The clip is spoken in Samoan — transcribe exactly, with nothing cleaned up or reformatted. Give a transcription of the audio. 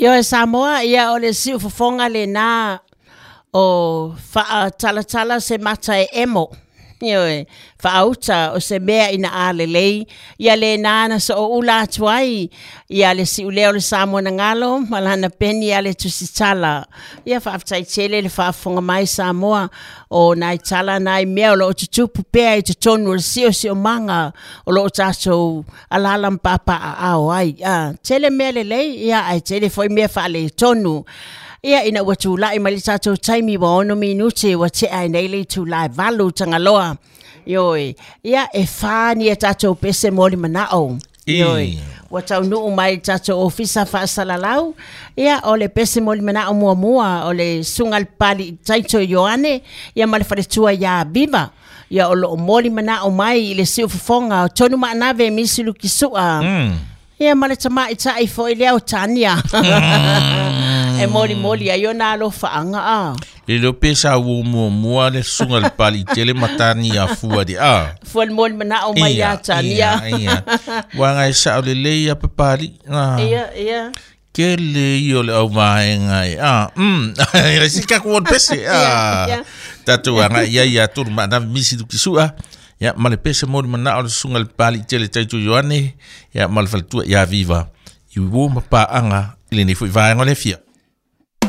Ioe Samoa, ia o le siufofoga lenā o faatalatala se mata e emo. Ioe, faauta o se mea ina a lelei, ia lenā na sooula atu ai, ia le siulea o le Samoa na galo, ma lana peni a le tusitala. Ia faafetai tele le faafofoga mai Samoa, o nai tala nai mea o loo tutupu pea i totonu o le siosiomaga o loo tatou alaala ma papaaao ai. Ah, tele mea lelei, ia ae tele foi mea faaletonu. Ia ina ua tulai mai le tatou taimi ua ono minute ua tea ai nei le itula e valu Tagaloa. Ioe, ia e fa ni a tatou pese moli manao. Ioe, ua taunuu mai le tatou ofisa faasalalau. Ia o le pese moli manao muamua o le susuga i le Papalii Taito Ioane, ia ma le faletua ia Viva. Ia o loo moli manao mai i le siufofoga o Tonu Maanave Misi Lukisua. Mm. Ia ma le tamaitai foi lea o Tania. E molimoli ai ona alofaaga a. Le leo pe sa ua muamua le susuga i le Papalii tele ma Tania fua di a. Fua le moli manao mai ia Tania. Ia, ia. Uaga e sao lelei ia Papalii. Ah. Ia, ia. Tele ia o le auvaega e. Ah, mm. Si ka ku pese. Ah. Ia, ia. Tatou agai ia ia Tonu Maanave Misi Lukisua. Ia ma le pese moli manao le susuga i le Papalii tele Taito Ioane, ia ma le faletua ia Viva. I uo ma paaga i lenei foi vaega o le fia.